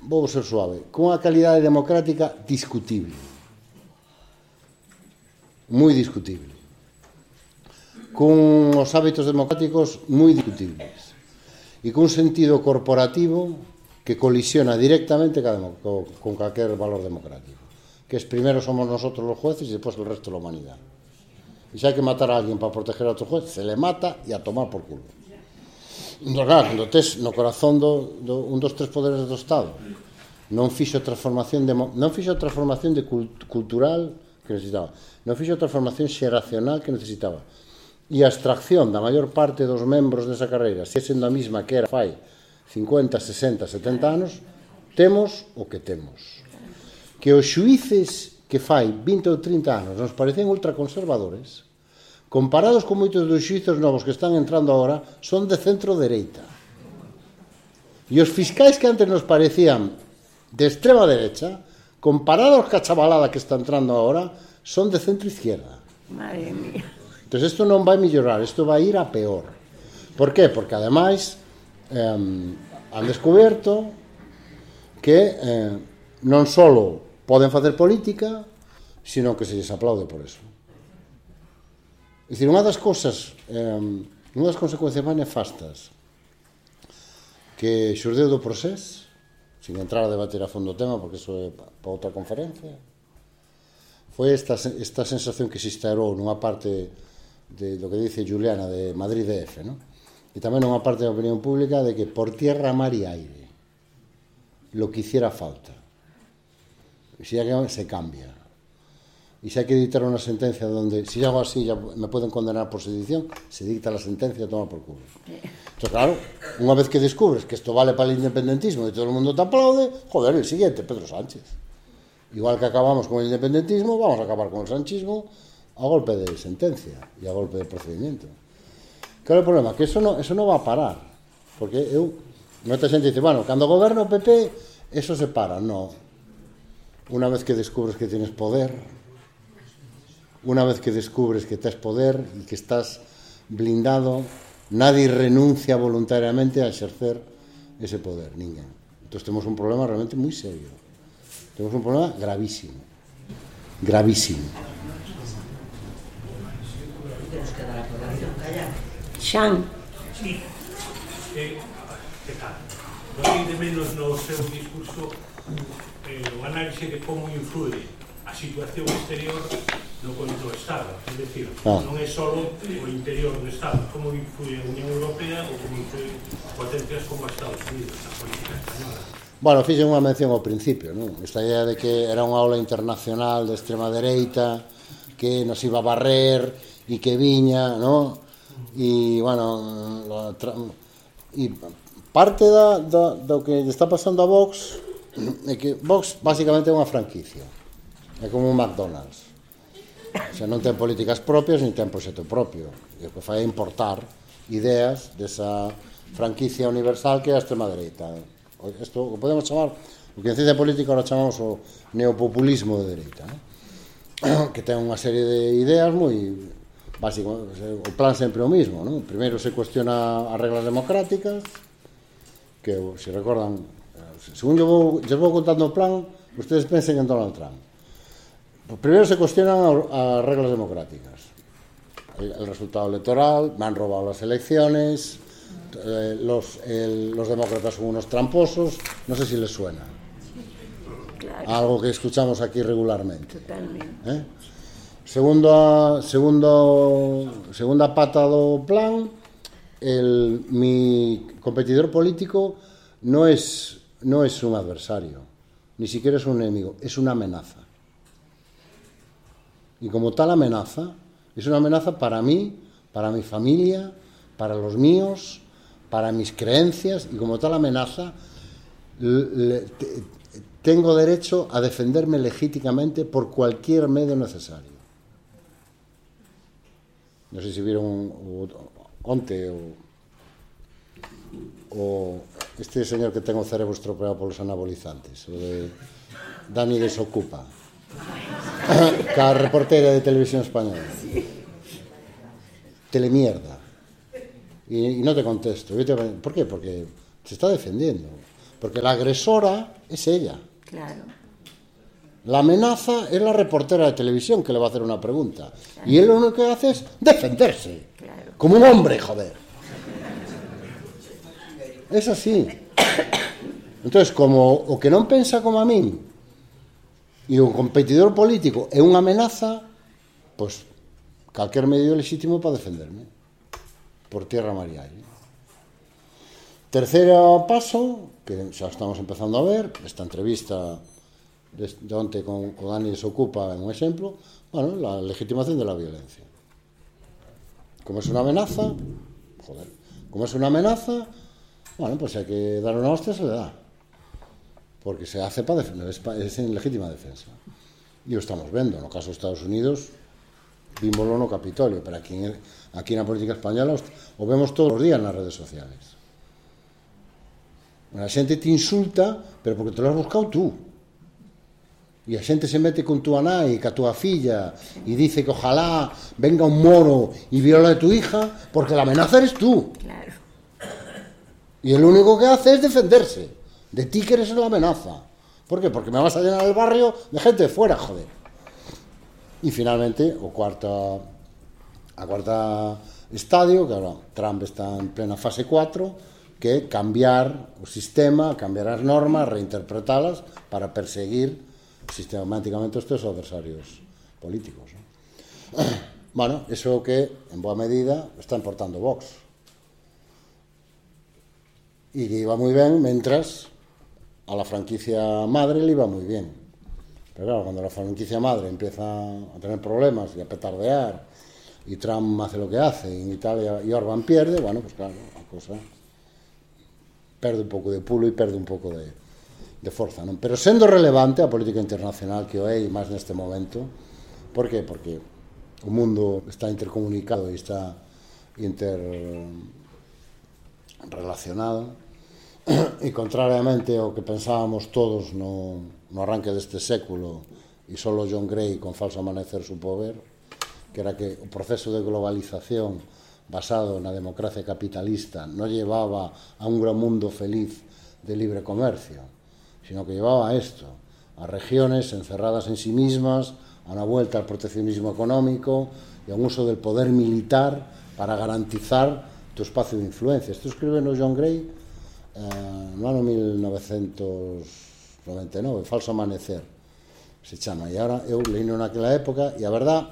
vou ser suave, cunha calidade democrática discutible, moi discutible, cun os hábitos democráticos moi discutibles e cun sentido corporativo que colisiona directamente con calquer valor democrático, que es primero somos nosotros los jueces y después el resto de la humanidad. Y si hay que matar a alguien para proteger a otro juez, se le mata y a tomar por culo. Entón, claro, cando tes no corazón un dos tres poderes do Estado non fixo transformación cultural que necesitaba, non fixo transformación xeracional que necesitaba, e a extracción da maior parte dos membros desa carreira sigue sendo a mesma que era fai 50, 60, 70 anos, temos o que temos. Que os xuíces que fai 20 ou 30 anos nos parecen ultraconservadores, comparados con moitos dos xuízos novos que están entrando agora, son de centro-dereita. E os fiscais que antes nos parecían de extrema derecha, comparados ca chavalada que está entrando agora, son de centro-izquierda. Madre mía. Entón, isto non vai mellorar, isto vai ir a peor. Por qué? Porque, ademais, han descoberto que non só poden facer política, sino que se les aplaude por eso. É dicir, unha das cousas, unha das consecuencias máis nefastas que xurdeu do Procés, sin entrar a debater a fondo o tema, porque iso é para outra conferencia, foi esta sensación que se instaurou nunha parte do que dice Juliana de Madrid DF, ¿no? E tamén nunha parte da opinión pública de que por tierra, mar y aire lo que hiciera falta, si hay que se cambia. Y si hay que dictar una sentencia donde, si hago así, ya me pueden condenar por sedición, se dicta la sentencia, toma por culo. Entonces, claro, una vez que descubres que esto vale para el independentismo y todo el mundo te aplaude, joder, el siguiente, Pedro Sánchez. Igual que acabamos con el independentismo, vamos a acabar con el sanchismo a golpe de sentencia y a golpe de procedimiento. Claro, el problema, que eso no va a parar. Porque mucha gente dice, bueno, cuando gobierna o PP, eso se para. No. Una vez que descubres que tienes poder, una vez que descubres que tienes poder y que estás blindado, nadie renuncia voluntariamente a ejercer ese poder, ninguén. Entonces tenemos un problema realmente muy serio. Tenemos un problema gravísimo. Gravísimo. Xan. Sí. Que tal? Non de menos no seu discurso o análisis de como influe a situación exterior no conto do Estado, é dicir, non é só o interior do Estado, como influe a Unión Europea ou como influe potencias como Estados Unidos na política española. Bueno, fixen unha mención ao principio, non? Esta idea de que era unha ola internacional de extrema dereita que nos iba a barrer e que viña, non? E, bueno, e parte do que está pasando a Vox é que Vox basicamente é unha franquicia, é como un McDonald's. O sea, non ten políticas propias ni ten proxecto propio, e o que fai é importar ideas desa franquicia universal que é a extrema dereita. Isto o podemos chamar, o que en ciencia política ahora chamamos o neopopulismo de dereita, ¿no? Que ten unha serie de ideas moi básicas. O plan sempre o mismo, ¿no? Primeiro se cuestiona as reglas democráticas, que, se recordan, según yo vou contando o plan, ustedes pensen en Donald Trump. Primero se cuestionan as reglas democráticas, el resultado electoral, me han robado las elecciones, los demócratas son unos tramposos, no sé si les suena. Claro. Algo que escuchamos aquí regularmente. Totalmente. Segunda pata do plan, mi competidor político no es un adversario, ni siquiera es un enemigo, es una amenaza. Y como tal amenaza, es una amenaza para mí, para mi familia, para los míos, para mis creencias, y como tal amenaza tengo derecho a defenderme legítimamente por cualquier medio necesario. No sé si vieron onte o este señor que ten o cerebro estropeado polos anabolizantes, o de Dani Desocupa, ca reportera de Televisión Española. Telemierda. Y no te contesto. ¿Por qué? Porque se está defendiendo. Porque la agresora es ella. Claro. La amenaza es la reportera de televisión que le va a hacer una pregunta. Claro. Y él lo único que hace es defenderse. Claro. Como un hombre, joder. Es así. Entonces, como o que non pensa como a min e o competidor político é unha amenaza, pois calquer medio lexítimo para defenderme por tierra, mar e aire. Terceiro paso, que xa estamos empezando a ver, esta entrevista de onte con Dani se ocupa en un exemplo, bueno, la legitimación de la violencia. Como es una amenaza, joder, como es una amenaza, bueno, pues hay que dar una hostia, se le da. Porque se hace para defender, es en legítima defensa. E o estamos vendo, no caso dos Estados Unidos, vímoslo no Capitolio, pero aquí na política española o vemos todos os días nas redes sociales. A xente te insulta, pero porque te lo has buscado tú. E a xente se mete con tu nai, ca túa filla, e dice que ojalá venga un moro e viola a tu hija, porque la amenaza eres tú. Claro. Y el único que hace es defenderse de ti que eres la amenaza. ¿Por qué? Porque me vas a llenar el barrio de gente de fuera, joder. Y finalmente, a cuarta estadio, que ahora Trump está en plena fase 4, que é cambiar o sistema, cambiar as normas, reinterpretalas para perseguir sistemáticamente os teus adversarios políticos, ¿no? Bueno, eso que en boa medida está importando Vox. Y que iba muy bien mientras a la franquicia madre le iba muy bien. Pero claro, cuando la franquicia madre empieza a tener problemas y a petardear y Trump hace lo que hace y en Italia y Orbán pierde, bueno, pues claro, la cosa perde un pouco de pulo e perde un pouco de forza, non? Pero sendo relevante a política internacional que o é, e máis neste momento, por qué? Porque o mundo está intercomunicado e está interrelacionado. E contrariamente ao que pensábamos todos no arranque deste século e solo John Gray con Falso Amanecer supo ver, que era que o proceso de globalización basado na democracia capitalista non llevaba a un gran mundo feliz de libre comercio, sino que llevaba a esto, a regiones encerradas en sí mismas, a una vuelta al proteccionismo económico y a un uso del poder militar para garantizar tu espacio de influencia. Isto escribe no John Gray no ano 1999, Falso Amanecer se chama, e agora eu leíno naquela época e a verdad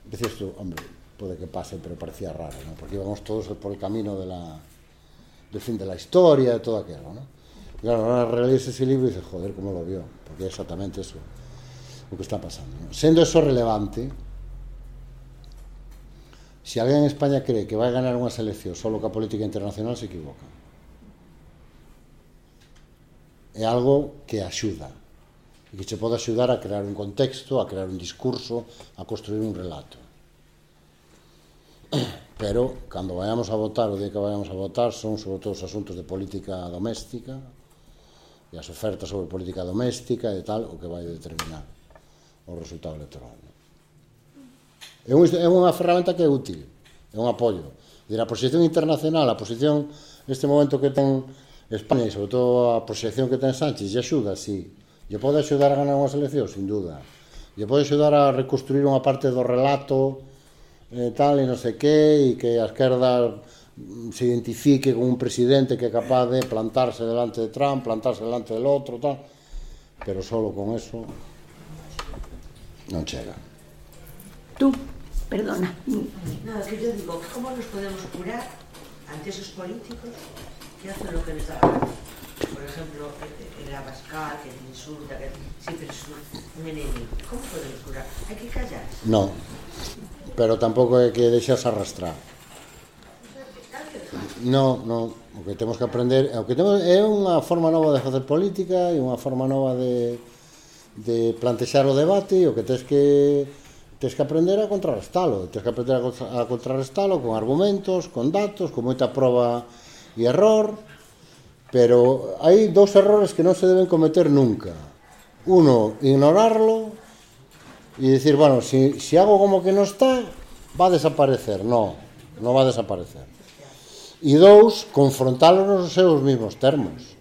decías tú, hombre, pode que pase, pero parecía raro, ¿no? Porque íbamos todos por el camino del fin de la historia, de todo aquello, ¿no? Y claro, ahora relees ese libro y dices, joder, ¿cómo lo vio? Porque é exactamente eso lo que está pasando, ¿no? Sendo eso relevante, si alguén en España cree que vai ganar unha selección solo ca política internacional, se equivoca. É algo que axuda e que che pode axudar a crear un contexto, a crear un discurso, a construir un relato. Pero, cando vayamos a votar, o día que vayamos a votar, son sobre todo os asuntos de política doméstica e as ofertas sobre política doméstica e tal, o que vai determinar o resultado electoral. É unha ferramenta que é útil, é un apoio. A proxección internacional, a posición neste momento que ten España e sobre todo a proxección que ten Sánchez, lle axuda, sí. Lle pode axudar a ganar unha selección, sin duda. Lle pode axudar a reconstruir unha parte do relato tal e non sei que, e que a esquerda se identifique con un presidente que é capaz de plantarse delante de Trump, plantarse delante del outro, tal. Pero solo con eso non chega. Tú, perdona. No, que yo digo, ¿cómo nos podemos curar ante esos políticos que hacen lo que les da la gana? Por ejemplo, el Abascal, que te insulta, que siempre es un enemigo. ¿Cómo podemos curar? ¿Hay que callarse? No, pero tampouco é que deixas arrastrar. No, o que temos que aprender é unha forma nova de facer política e unha forma nova de plantexar o debate, e o que tens que aprender a contrarrestalo, tens que aprender a contrarrestalo con argumentos, con datos, con moita proba e error, pero hai dous errores que non se deben cometer nunca. Uno, ignorarlo e dicir, bueno, si hago como que non está, va a desaparecer. No va a desaparecer. E dous, confrontalo nos seus mismos termos.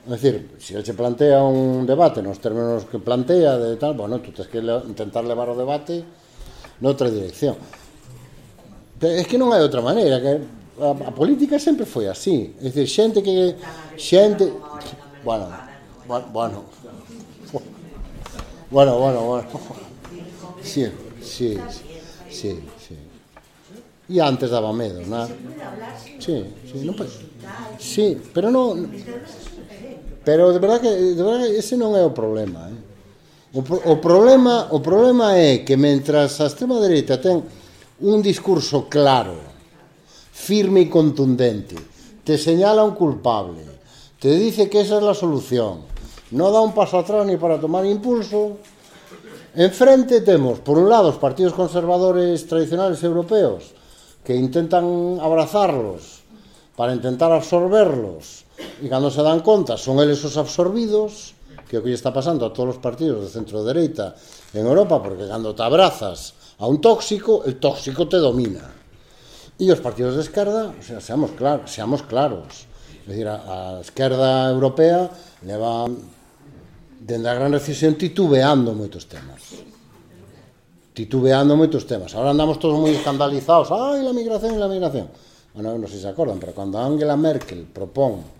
É dicir, se ele se plantea un debate nos términos que plantea de tal, bueno, tú tens que intentar levar o debate noutra dirección. Pero é que non hai outra maneira, que a política sempre foi así. É dicir, xente que... Bueno. Sí. E antes daba medo, non? Sí, non pode... Sí, pero non... Pero de verdade que ese non é o problema, O problema é que mentras a extrema dereita ten un discurso claro, firme e contundente, te señala un culpable, te dice que esa es la solución, no da un paso atrás ni para tomar impulso, enfrente temos, por un lado, os partidos conservadores tradicionales europeos que intentan abrazarlos para intentar absorberlos, e cando se dan conta son eles os absorbidos, que é o que lle está pasando a todos os partidos de centro-dereita en Europa, porque cando te abrazas a un tóxico, el tóxico te domina. E os partidos de esquerda, o sea, seamos claros. É dicir, a esquerda europea leva dende a gran recesión titubeando moitos temas. Ahora andamos todos moi escandalizados. Ai, la migración. Bueno, non sei se acordan, pero cando Angela Merkel propón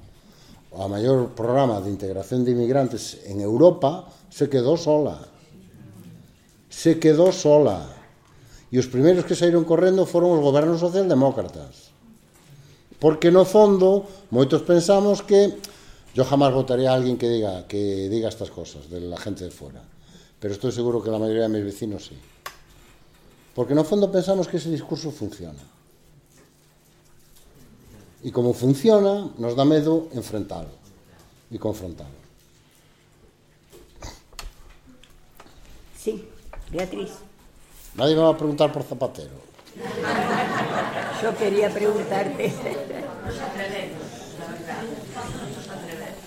o maior programa de integración de inmigrantes en Europa, se quedou sola. E os primeiros que saíron correndo foron os gobernos socialdemócratas. Porque no fondo, moitos pensamos que yo jamás votaría a alguien que diga estas cosas de la gente de fuera. Pero estoy seguro que la mayoría de mis vecinos sí. Porque no fondo pensamos que ese discurso funciona. E como funciona, nos dá medo enfrentalo e confrontalo. Sí, Beatriz. Nadie me va a preguntar por Zapatero. Yo quería preguntarte.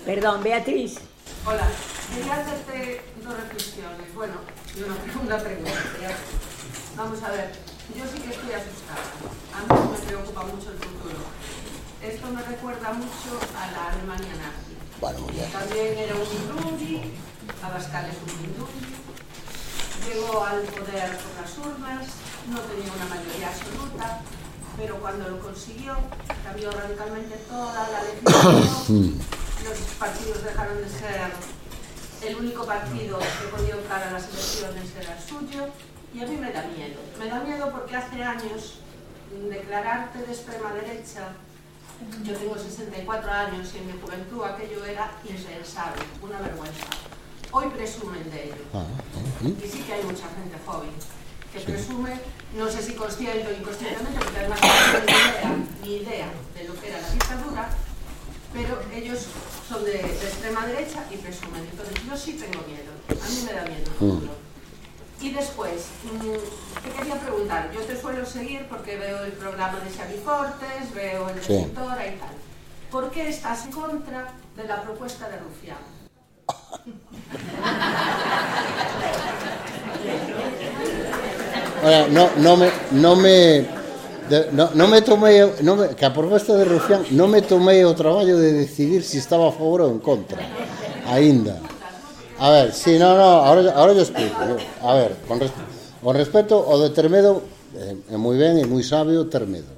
Perdón, Beatriz. Hola, quería hacerte dos reflexiones. Bueno, y una pregunta. Vamos a ver, yo sí que estoy asustada. A mí me preocupa mucho el futuro. Esto me recuerda mucho a la Alemania nazi. Bueno, muy bien. También era un Mindundi, Abascal es un Mindundi. Llegó al poder por las urnas, no tenía una mayoría absoluta, pero cuando lo consiguió, cambió radicalmente toda la legislación. Los partidos dejaron de ser el único partido que podía optar a las elecciones, era el suyo, y a mí me da miedo. Me da miedo porque hace años declararte de extrema derecha. Yo tengo 64 años y en mi juventud aquello era impensable, una vergüenza. Hoy presumen de ello. Y sí que hay mucha gente joven que presume, no sé si consciente o inconscientemente, porque además no tienen ni idea de lo que era la dictadura, pero ellos son de extrema derecha y presumen. Entonces yo sí tengo miedo, a mí me da miedo el futuro. Y después, te quería preguntar, yo te suelo seguir porque veo el programa de Xavi Fortes, veo el de Editora y tal. ¿Por qué estás en contra de la propuesta de Rufián? Que a propuesta de Rufián non me tomei o traballo de decidir se estaba a favor ou en contra. Aínda. A ver, sí, ahora yo explico. A ver, con respecto ao de ter medo, é moi ben e moi sabio ter medo.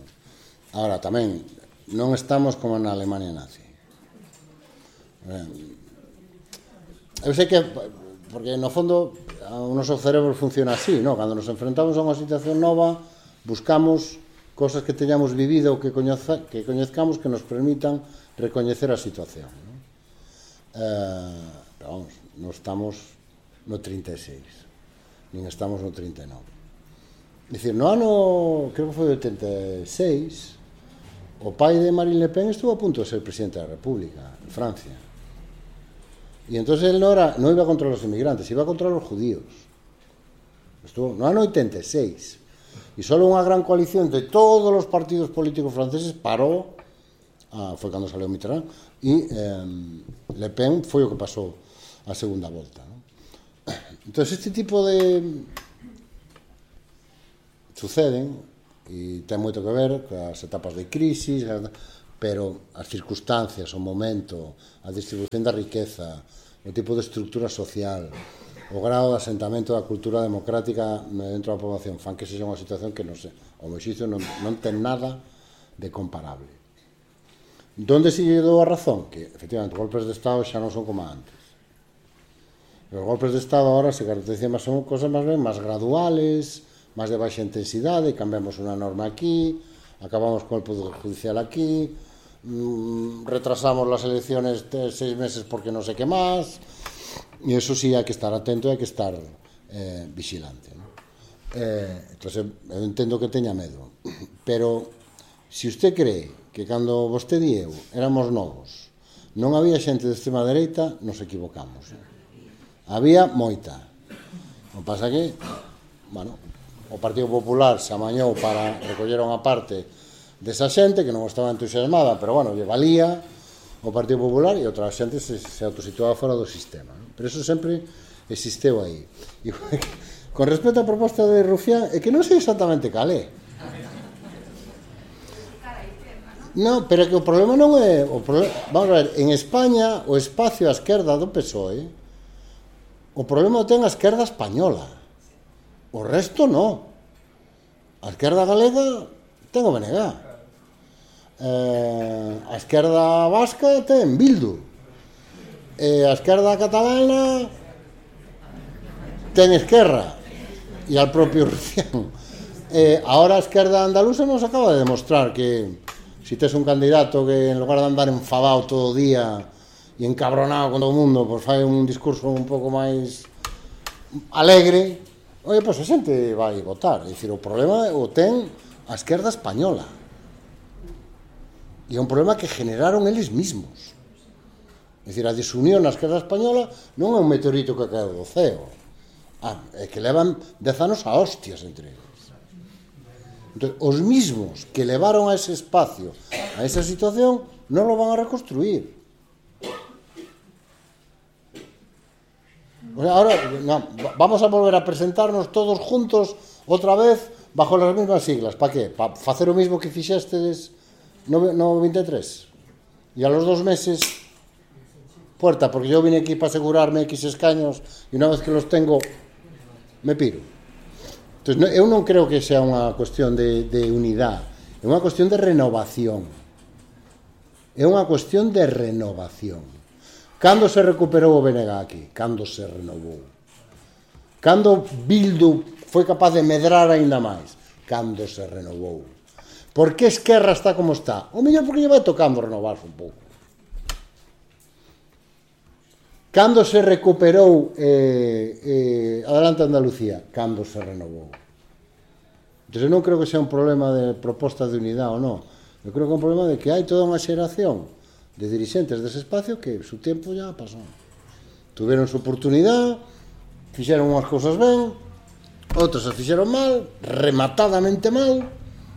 Ahora, tamén, non estamos como na Alemania nazi. Eu sei que, porque no fondo, o noso cerebro funciona así, ¿no? Cando nos enfrentamos a unha situación nova, buscamos cosas que teñamos vivido ou que coñezcamos que nos permitan recoñecer a situación, ¿no? Pero vamos, non estamos no 36, nin estamos no 39. Dicir, no ano, creo que foi 86, o pai de Marine Le Pen estuvo a punto de ser presidente da República, en Francia. E entonces él no iba contra los inmigrantes, iba contra los judíos. Estuvo no ano 86. E solo unha gran coalición de todos os partidos políticos franceses parou, foi cando salió Mitterrand, e Le Pen foi o que pasou a segunda volta, ¿no? Entonces este tipo de suceden e ten moito que ver coas etapas de crisis, pero as circunstancias, o momento, a distribución da riqueza, o tipo de estructura social, o grado de asentamento da cultura democrática dentro da población fan que sexa unha situación que non sei, o meu xuicio non ten nada de comparable. Donde se lle dou a razón? Que, efectivamente, os golpes de Estado xa non son como antes. Os golpes de Estado agora se caracterizan son cosas máis graduales, máis de baixa intensidade, cambiamos unha norma aquí, acabamos con el Poder Judicial aquí, retrasamos las elecciones 6 meses porque no sé qué más, y eso sí hai que estar atento e hai que estar vigilante, ¿no? Entonces, eu entendo que teña medo, pero se usted cree que cando vostede e eu éramos novos non había xente de extrema dereita, nos equivocamos. Había moita. O pasa que, bueno, o Partido Popular se amañou para recoller unha parte desa xente que non estaba entusiasmada, pero, bueno, lle valía o Partido Popular e outra xente se autosituaba fora do sistema, ¿no? Pero eso sempre existeu aí. E, con respecto á proposta de Rufián, é que non sei exactamente cal é. Non, pero é que o problema non é... Vamos a ver, en España, o espacio á esquerda do PSOE, o problema o ten a esquerda española. O resto non. A esquerda galega ten o BNG. A esquerda vasca ten Bildu. A esquerda catalana ten Esquerra. E al propio Rufián. Ahora a esquerda andaluza nos acaba de demostrar que si tes un candidato que en lugar de andar enfadado todo o día e encabronado con todo o mundo, pois fai un discurso un pouco máis alegre, oye, pois a xente vai votar. É dicir, o problema o ten a esquerda española. E é un problema que generaron eles mismos. É dicir, a desunión na esquerda española non é un meteorito que caeu do ceo. É que levan 10 anos a hostias entre eles. Entón, os mismos que levaron a ese espacio, a esa situación, non lo van a reconstruir. Ahora, no, vamos a volver a presentarnos todos juntos outra vez bajo las mismas siglas. ¿Para qué? Para facer o mismo que fixestes no 23. E a los 2 meses, puerta, porque yo vine aquí para asegurarme X escaños e unha vez que los tengo, me piro. Entonces, eu non creo que sea unha cuestión de unidade, é unha cuestión de renovación. É unha cuestión de renovación. Cando se recuperou o BNG aquí? Cando se renovou? Cando Bildu foi capaz de medrar aínda máis? Cando se renovou? Por que Esquerra está como está? O mellor porque lle vai tocando renovarse un pouco. Cando se recuperou Adelante Andalucía? Cando se renovou? Entón, eu non creo que sea un problema de propostas de unidade ou non. Eu creo que é un problema de que hai toda unha xeración de dirixentes dese espacio que su tempo ya pasou. Tuveron su oportunidade, fixeron unhas cousas ben, outras as fixeron mal, rematadamente mal,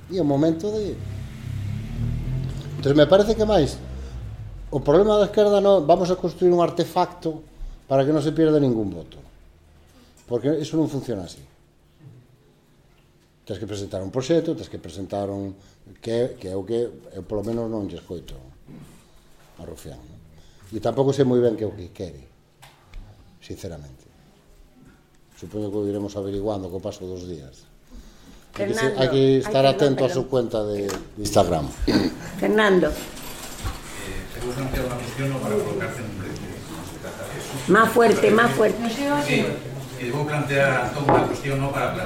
e é o momento de... Entón, me parece que máis o problema da esquerda non vamos a construir un artefacto para que non se pierda ningún voto, porque iso non funciona así. Tens que presentar un proxecto, tens que presentar un que é o que eu polo menos non lle escoito a Rufián, non? E tampouco sei moi ben que é o que quere, sinceramente. Supoño que o iremos averiguando co paso dos días. Hai que estar atento a súa cuenta de Instagram. Fernando. Tengo que plantear una cuestión no para colocarse en un brete. Más fuerte, más fuerte. Sí, debo plantear toda una cuestión no para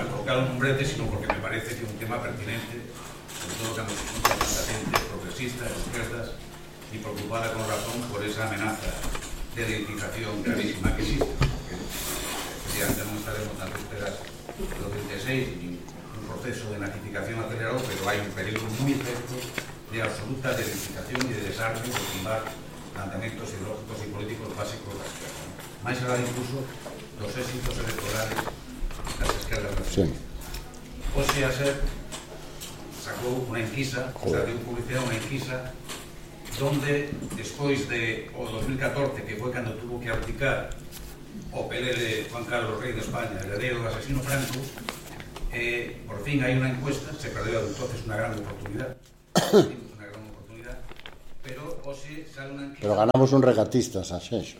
colocarlo en un brete, sino porque me parece que es un tema pertinente, sobre todo cuando se junta tanta gente progresista, de izquierdas, y preocupada con razón por esa amenaza de identificación gravísima que existe. Porque, efectivamente, no estaremos tan esperas de los 26 ni un proceso de nazificación acelerado, pero hay un peligro muy certo de absoluta identificación y de desarme de tumbar planteamientos ideológicos y políticos básicos de la izquierda. Más allá incluso los éxitos electorales de las izquierdas nacionales. O sea, sacó una enquisa, salió publicidad una enquisa, donde despois de o 2014, que foi cando tuvo que abdicar o pelele Juan Carlos, rei de España, heredero do asesino Franco, por fin hai unha encuesta, se perdeu entonces unha gran oportunidad, una pero ganamos un regatista en Sanxenxo.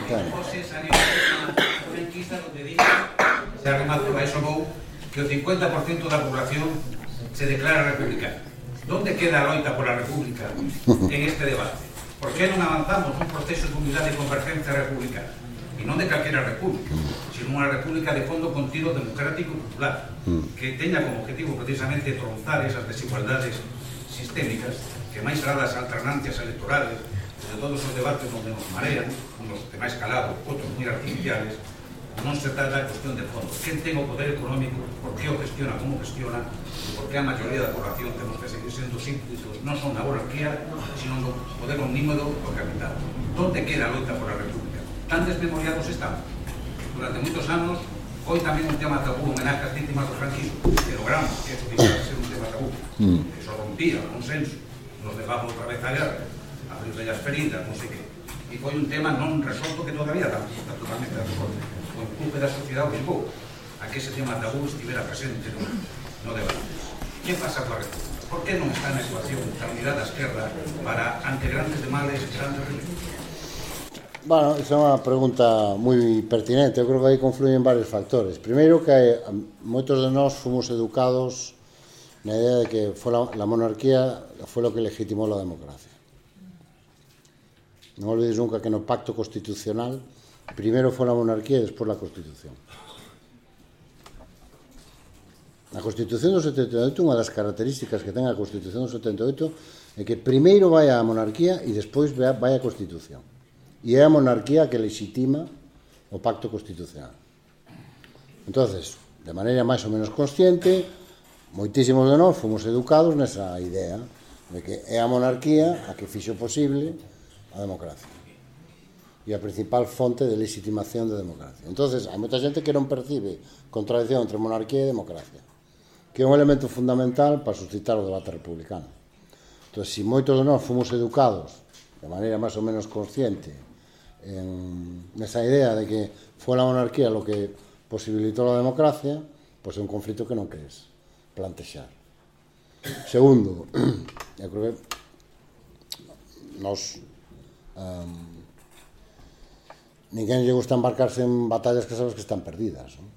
José salió unha enquista donde dice, se remato a eso vou, que o 50% da población se declara republicana. ¿Dónde queda a loita pola república en este debate? ¿Por que non avanzamos un proceso de unidade e convergencia republicana? E non de calquera república, sino unha república de fondo contido democrático e popular, que teña como objetivo precisamente tronzar esas desigualdades sistémicas que máis será das alternancias electorales, de todos os debates onde nos marean, unos de máis calado, outros moi artificiales. Non se trata de cuestión de fondo. Quen ten o poder económico, por que o gestiona, como gestiona, e por que a maioría da población temos que seguir sendo súbditos non son na monarquía, sino no poder omnímodo do capital. Donde queda a loita por a república? Tan desmemoriados estamos. Durante moitos anos, hoy tamén un tema tabú, homenaje ás vítimas do franquismo, que logramos que eso deixara de ser un tema tabú. Eso rompía o consenso, nos levamos outra vez a guerra, abrir as feridas, non sei que. E foi un tema non resolto que todavía está totalmente resolto. O empuje da sociedade obligou a que ese tema tabú estivera presente no debate. Que pasa coa república? Por que non está na ecuación a unidade da esquerda para, ante grandes de males, grandes riesgos? Bueno, esa é unha pregunta moi pertinente. Eu creo que aí confluyen varios factores. Primeiro, que moitos de nós fomos educados na idea de que la monarquía foi lo que legitimou la democracia. Non olvides nunca que no pacto constitucional primero foi a monarquía e despois a Constitución. A Constitución do 78, unha das características que ten a Constitución do 78 é que primeiro vai a monarquía e despois vai a Constitución. E é a monarquía que legitima o pacto constitucional. Entonces, de maneira máis ou menos consciente, moitísimos de nós fomos educados nesa idea de que é a monarquía a que fixo posible a democracia e a principal fonte de legitimación de democracia. Entonces, hai moita xente que non percibe contradicción entre monarquía e democracia, que é un elemento fundamental para suscitar o debate republicano. Entón, se moitos de nós fomos educados de maneira máis ou menos consciente nesa idea de que foi a monarquía lo que posibilitou a democracia, pois é un conflito que non queres plantexar. Segundo, eu creo que nos ninguén lle gusta embarcarse en batallas que sabes que están perdidas, non?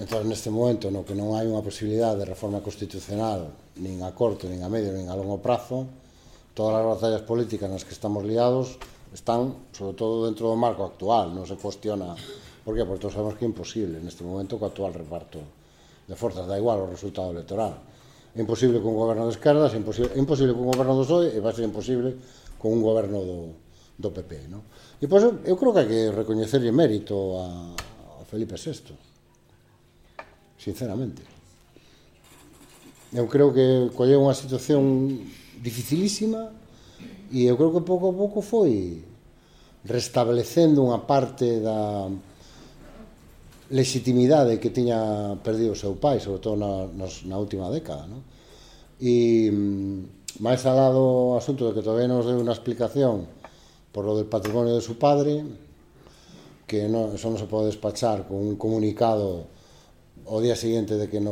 Entón, neste momento no que non hai unha posibilidade de reforma constitucional nin a corto, nin a medio, nin a longo prazo, todas as batallas políticas nas que estamos liados están, sobre todo, dentro do marco actual. Non se cuestiona. Por qué? Porque todos sabemos que é imposible neste momento co actual reparto de forzas, da igual o resultado electoral. É imposible con un goberno de esquerdas, é imposible con un goberno do PSOE e vai ser imposible con un goberno do PP, non? E pois eu creo que hai que recoñecerlle mérito a Felipe VI, sinceramente. Eu creo que colleu unha situación dificilísima e eu creo que pouco a pouco foi restablecendo unha parte da legitimidade que tiña perdido o seu pai, sobre todo na última década, non? E máis alá do asunto de que todavía nos deu unha explicación por lo del patrimonio de su padre, que eso non se pode despachar con un comunicado o día siguiente de que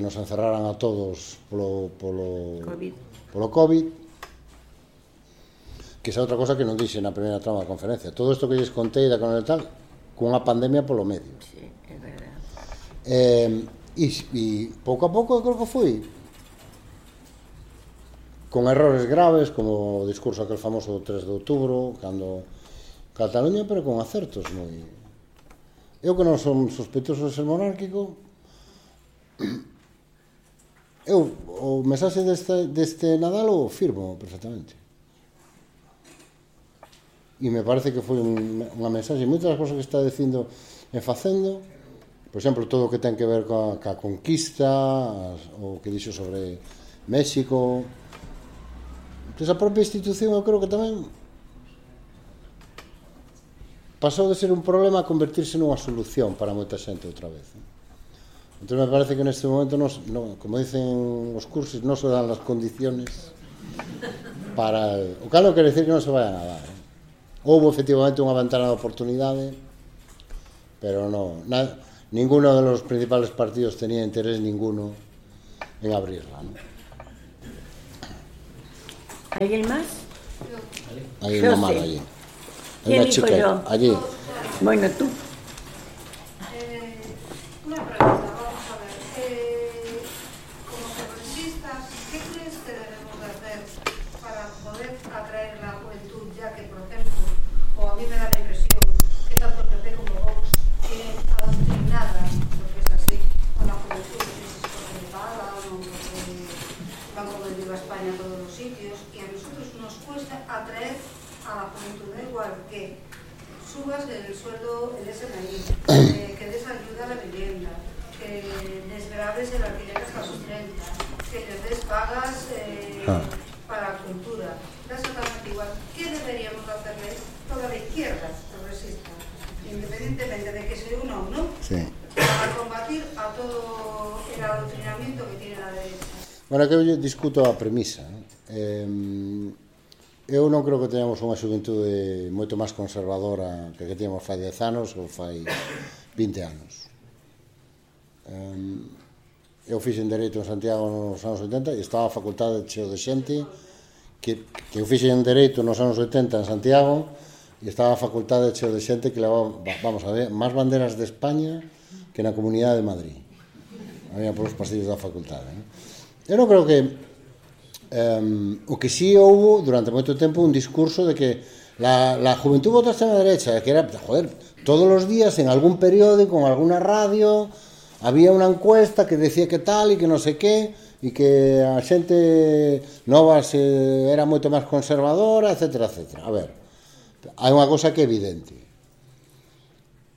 nos encerraran a todos polo COVID, que esa outra cosa que non dixe na primeira trama da conferencia. Todo isto que lles contei da Coronel tal, cunha pandemia polo medio. Sí, é verdade. E pouco a pouco eu creo que foi con errores graves, como o discurso aquel famoso do 3 de outubro, cando Cataluña, pero con acertos moi... Eu que non son sospeitoso de ser monárquico, eu o mensaxe deste Nadal o firmo perfectamente. E me parece que foi unha mensaxe, moitas das cosas que está dicindo e facendo, por exemplo, todo o que ten que ver ca conquista, o que dixo sobre México. Entón, a propia institución eu creo que tamén pasou de ser un problema a convertirse nunha solución para moita xente outra vez. Entón, me parece que neste momento, como dicen os cursos, non se dan as condiciones para... O cal non quere decir que non se vayan a dar. Houve efectivamente unha ventana de oportunidade, pero ninguno de los principales partidos tenía interés ninguno en abrirla, ¿no? ¿Alguien más? Hay Yo una mano sé. allí. Hay ¿Quién una dijo chica yo? allí. Bueno, tú. Una pregunta, vamos a ver. Como progresistas, ¿qué crees que debemos de hacer para poder atraer la juventud? Ya que, por ejemplo, o a mí me da la impresión que tanto el PP como Vox tienen adoctrinada, porque es así, a la juventud, que es porque le pagan o porque van con el Viva España a todos los sitios, y a nosotros nos cuesta atraer a la juventud, da igual que subas el sueldo, el SMI, que des ayuda a la vivienda, que desgraves el alquiler hasta los 30, que les des pagas para la cultura. Da exactamente igual. ¿Qué deberíamos hacerle toda la izquierda progresista, independientemente de que se una o no, para combatir a todo el adoctrinamiento que tiene la derecha? Bueno, que eu discuto a premisa. Eu non creo que teñamos unha xuventude moito máis conservadora que teníamos fai 10 anos ou fai 20 anos. Eu fixen Dereito en Santiago nos anos 80 e estaba a facultade cheo de xente que eu fixen Dereito nos anos 80 en Santiago e estaba a facultade cheo de xente que levaba, vamos a ver, máis banderas de España que na Comunidade de Madrid. Había polos pasillos da facultade, non? Eu non creo que o que sí houve durante moito tempo un discurso de que la juventud vota a extrema derecha, que era, joder, todos los días en algún periódico, en alguna radio, había unha encuesta que decía que tal e que non sei que, e que a xente nova era moito máis conservadora, etcétera, etcétera. A ver, hai unha cosa que é evidente.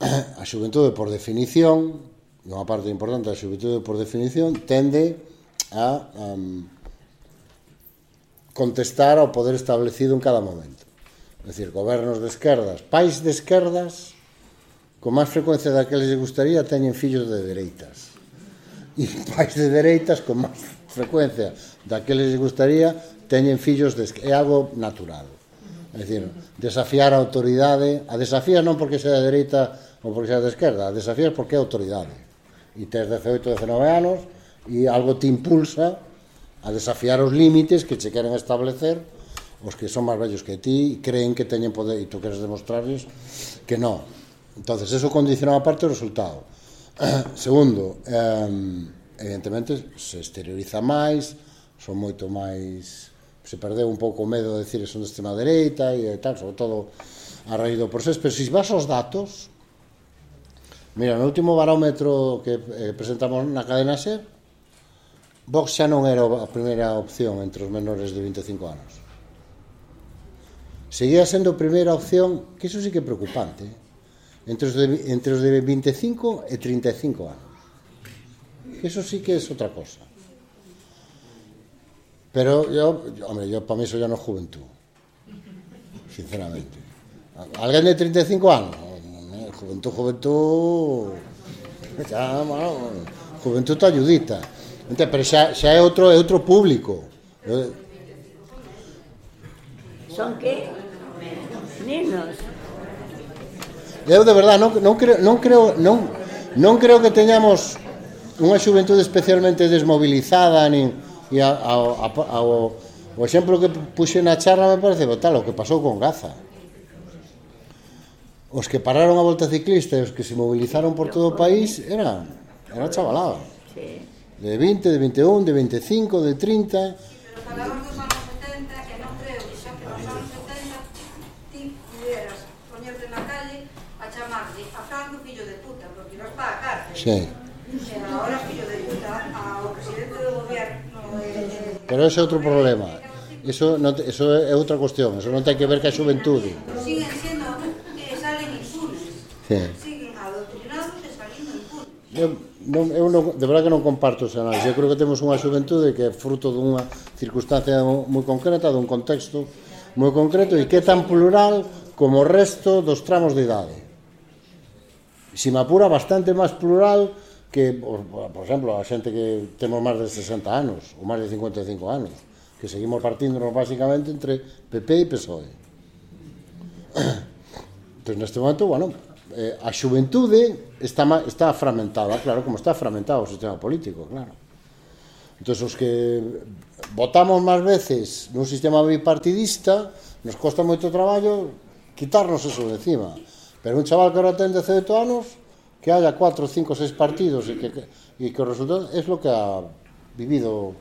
A xuventude, por definición, unha parte importante da xuventude, por definición, tende a contestar ao poder establecido en cada momento. É dicir, gobernos de esquerdas, pais de esquerdas, con máis frecuencia da que les gustaría, teñen fillos de dereitas. E pais de dereitas, con máis frecuencia da que les gustaría, teñen fillos de esquerda. É algo natural. É dicir, desafiar a autoridade, a desafías non porque sea de dereita ou porque sea de esquerda, a desafías porque é autoridade. E tes 18, 19 anos e algo te impulsa a desafiar os límites que che queren establecer os que son máis vellos que ti e creen que teñen poder e tú queres demostrarles que non. Entonces, eso condiciona a parte do resultado. Segundo, evidentemente, se exterioriza máis, son moito máis... Se perdeu un pouco o medo de decir que son de extrema dereita e tal, sobre todo a raíz do proceso. Pero se vas aos datos, mira, no último barómetro que presentamos na cadena SER, Vox xa non era a primeira opción entre os menores de 25 anos. Seguía sendo a primeira opción, que iso sí que é preocupante, entre os de 25 e 35 anos. Eso sí que é outra cosa. Pero yo para mí eso ya no es juventud, sinceramente. ¿Alguén de 35 anos? Juventud... Ya, bueno, juventud está ayudita. Pero xa é outro público. ¿Son qué? Nenos. Eu de verdade non creo que teñamos unha xuventude especialmente desmobilizada nin o exemplo que puxe na charla me parece tal o que pasou con Gaza. Os que pararon a volta ciclista e os que se movilizaron por todo o país era chavalada. Sí. De 20, de 21, de 25, de 30. Pero falamos dos anos 70 e non creo que xa que nos anos 70 ti pudieras poñerte na calle a chamarle a Franco fillo de puta, porque ibas para a cárcel. Sí. E agora fillo de puta ao presidente do gobierno Pero ese é outro problema. Eso é outra cuestión. Eso non ten que ver ca xuventude. siguen sendo salen impunes. Sí. Siguen adoctrinados e salindo impunes. Eu de verdade que non comparto ese análisis. Eu creo que temos unha xuventude que é fruto dunha circunstancia moi concreta, dun contexto moi concreto e que é tan plural como o resto dos tramos de idade. Se me apura, bastante máis plural que, por exemplo, a xente que temos máis de 60 anos ou máis de 55 anos, que seguimos partíndonos basicamente entre PP e PSOE. Entón, neste momento, bueno, a xuventude está fragmentada, claro, como está fragmentado o sistema político, claro. Entón, os que votamos máis veces nun sistema bipartidista, nos costa moito traballo quitarnos eso de encima. Pero un chaval que ahora ten 18 anos, que haya 4, 5, 6 partidos e que o resultado es lo que ha vivido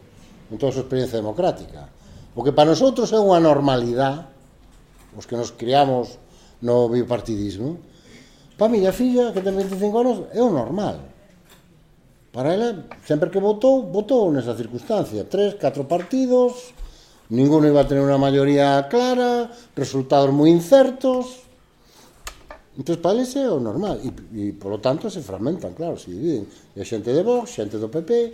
en toda a súa experiencia democrática. Porque para nosotros é unha normalidade, os que nos criamos no bipartidismo. Para a miña filla, que ten 25 anos, é o normal. Para ela, sempre que votou nesa circunstancia. 3, 4 partidos, ninguno iba a tener unha maioría clara, resultados moi incertos. Entón, para eles é o normal. E, polo tanto, se fragmentan, claro, se dividen. E xente de Vox, xente do PP,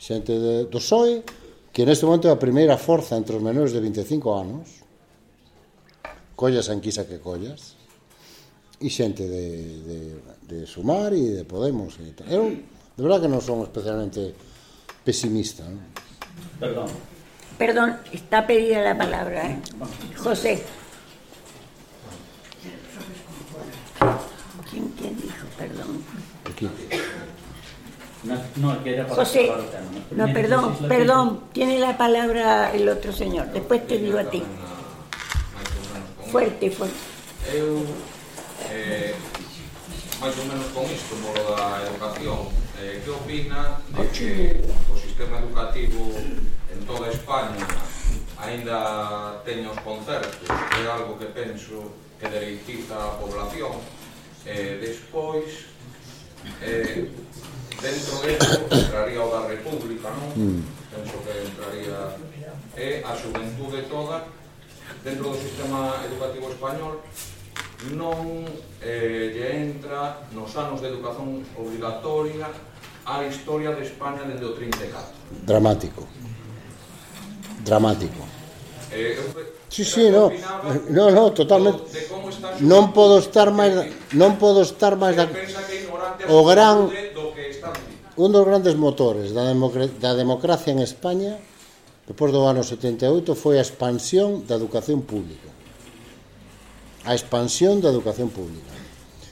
xente do PSOE, que neste momento é a primeira forza entre os menores de 25 anos, collas a enquisa que collas, e xente de Sumar e de Podemos. Eu, de verdad que non son especialmente pesimista, ¿no? Perdón, está pedida la palabra, ¿eh? José. ¿Quién dijo? Perdón. Aquí. No, que era para José. acabar o tema. No, perdón. Tiene la palabra el otro señor. Después te digo a ti. Fuerte. Eu, máis ou menos con isto, polo da educación, que opina de que o sistema educativo en toda España aínda teña os concertos, que é algo que penso que dereitiza a población, despois, dentro disso entraría o da República, non? Penso que entraría a xuventude toda dentro do sistema educativo español. Non lle entra nos anos de educación obligatoria a historia de España dende o 34. Dramático. Sí, no, totalmente. Non podo estar máis un dos grandes motores da democracia en España depois do ano 78 foi a expansión da educación pública.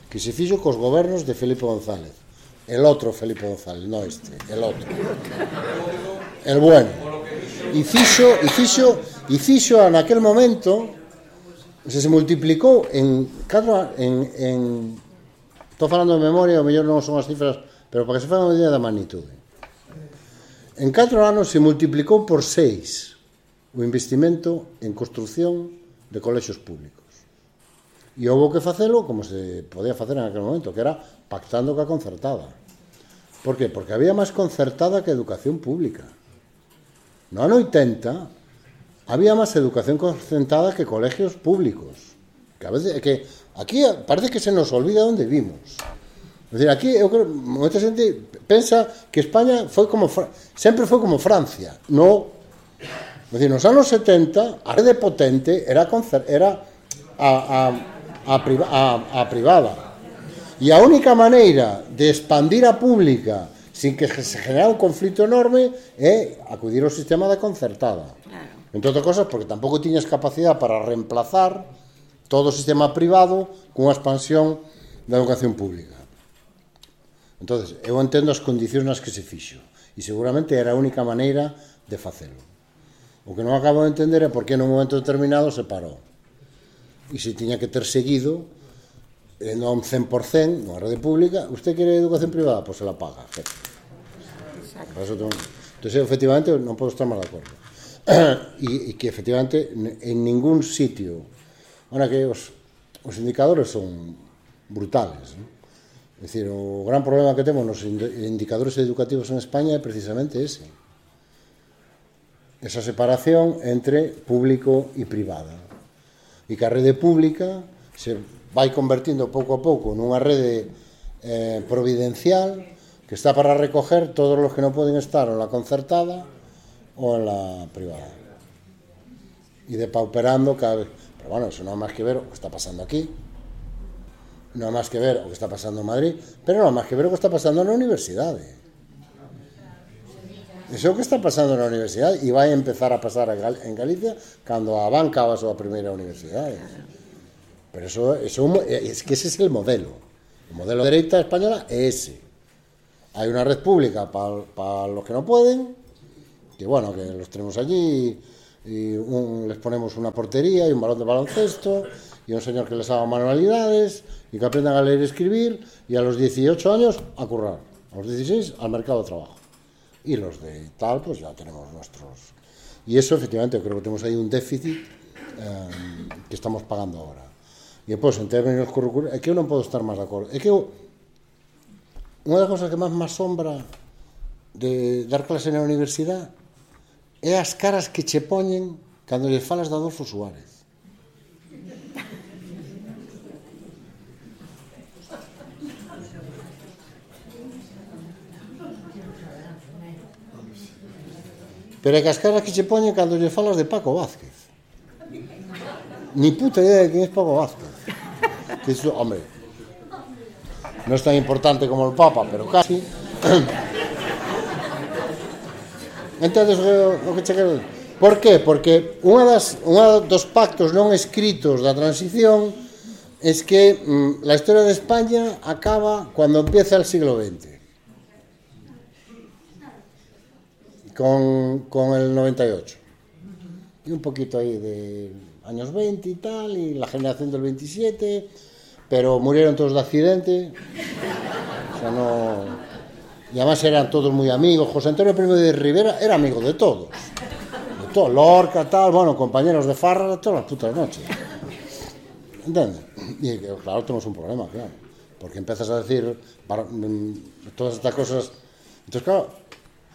Que se fixo cos gobernos de Felipe González. El otro Felipe González, no este, el otro. El bueno. E fixo naquel momento se multiplicou estou falando de memoria, o mellor non son as cifras, pero para que se faga unha idea da magnitude. En 4 anos se multiplicou por 6 o investimento en construción de colexios públicos. E houve que facelo como se podía facer en aquel momento, que era pactando ca concertada. Por que? Porque había máis concertada que educación pública. No ano 80 había máis educación concertada que colegios públicos. Que a veces, que aquí parece que se nos olvida onde vimos. É dicir, aquí eu creo, moita xente pensa que España sempre foi como Francia. No. É dicir, nos anos 70 a rede potente era a privada. E a única maneira de expandir a pública sin que se genera un conflito enorme é acudir ao sistema da concertada. Entre outras cosas, porque tampouco tiñas capacidade para reemplazar todo o sistema privado cunha expansión da educación pública. Entonces, eu entendo as condicións nas que se fixo e seguramente era a única maneira de facelo. O que non acabo de entender é por que nun momento determinado se parou. E se tiña que ter seguido non 100% nunha rede pública. Usted quere educación privada? Pois se la paga. Entón, efectivamente, non podo estar máis de acordo. E que, efectivamente, en ningún sitio... Ahora que os indicadores son brutales, non? É dicir, o gran problema que temos nos indicadores educativos en España é precisamente ese. Esa separación entre público e privada. E que a rede pública se vai convertindo pouco a pouco nunha rede providencial que está para recoger todos os que non poden estar en la concertada ou en la privada. E depauperando cada vez. Pero bueno, eso non é máis que ver o que está pasando aquí. Non é máis que ver o que está pasando en Madrid, pero non é máis que ver o que está pasando na universidade. Iso é o que está pasando na universidade e vai empezar a pasar en Galicia cando a banca va a súa primeira universidade. Pero es que ese es el modelo. El modelo de derecha española es ese. Hay una red pública para los que no pueden, que que bueno, que los tenemos allí y les ponemos una portería y un balón de baloncesto y un señor que les haga manualidades y que aprendan a leer y escribir, y a los 18 años a currar, a los 16 al mercado de trabajo, y los de tal pues ya tenemos nuestros, y eso efectivamente creo que tenemos ahí un déficit que estamos pagando ahora. Y después en términos curriculares, es que yo non podo estar máis de acordo, é que unha das cosas que máis me asombra de dar clase na universidade é as caras que che poñen cando lle falas de Adolfo Suárez. Pero é que as caras que che poñen cando lle falas de Paco Vázquez. Ni puta idea de quen é Paco Vázquez. Que iso, hombre, non é tan importante como el Papa, pero casi. Entonces, o que che quero... Por qué? Porque un dos pactos non escritos da transición es que la historia de España acaba cuando empieza el siglo XX. Con el 98 y un poquito ahí de años 20 y tal, y la generación del 27, pero murieron todos de accidente, o sea, no, y además eran todos muy amigos. José Antonio Primo de Rivera era amigo de todos, Lorca, tal, bueno, compañeros de farra todas las putas noches, ¿entiendes? Y claro, tenemos un problema, claro, porque empiezas a decir todas estas cosas, entonces claro,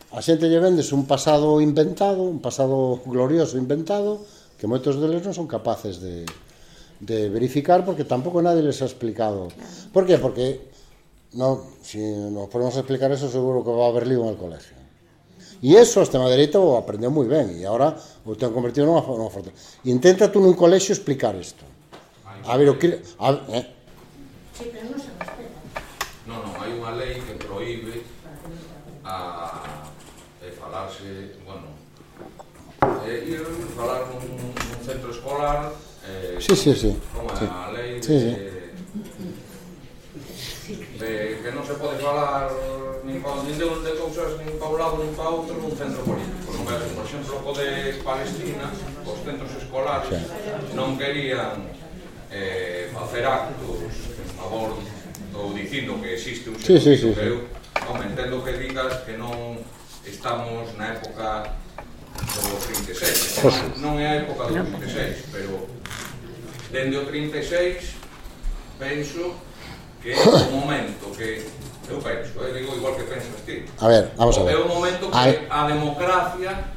a xente lle vendes un pasado inventado, un pasado glorioso inventado, que moitos deles non son capaces de verificar, porque tampouco nadie les ha explicado. Por qué? Porque si nos ponemos a explicar eso, seguro que va a haber lío en el colegio. Y eso a extrema derecha o aprendeu moi ben, e agora o ten convertido nunha fortaleza. Intenta tú nun colexio explicar isto. A ver, Sí, pero non se respeta. Non, hai unha lei que proíbe falarse, bueno, ir falar nun centro escolar, sí. como sí. a lei Sí. de que non se pode falar nin de cousas nin pa un lado nin pa outro nun centro político. Non veas, por exemplo, o de Palestina, os centros escolares non querían facer actos en favor ou dicindo que existe un xenocidio, que eu entendo que digas que non estamos na época do 36, non é a época do 36, pero dende o 36 penso que é o momento que eu penso, digo igual que pensas ti. A ver, vamos a ver. É o momento que a democracia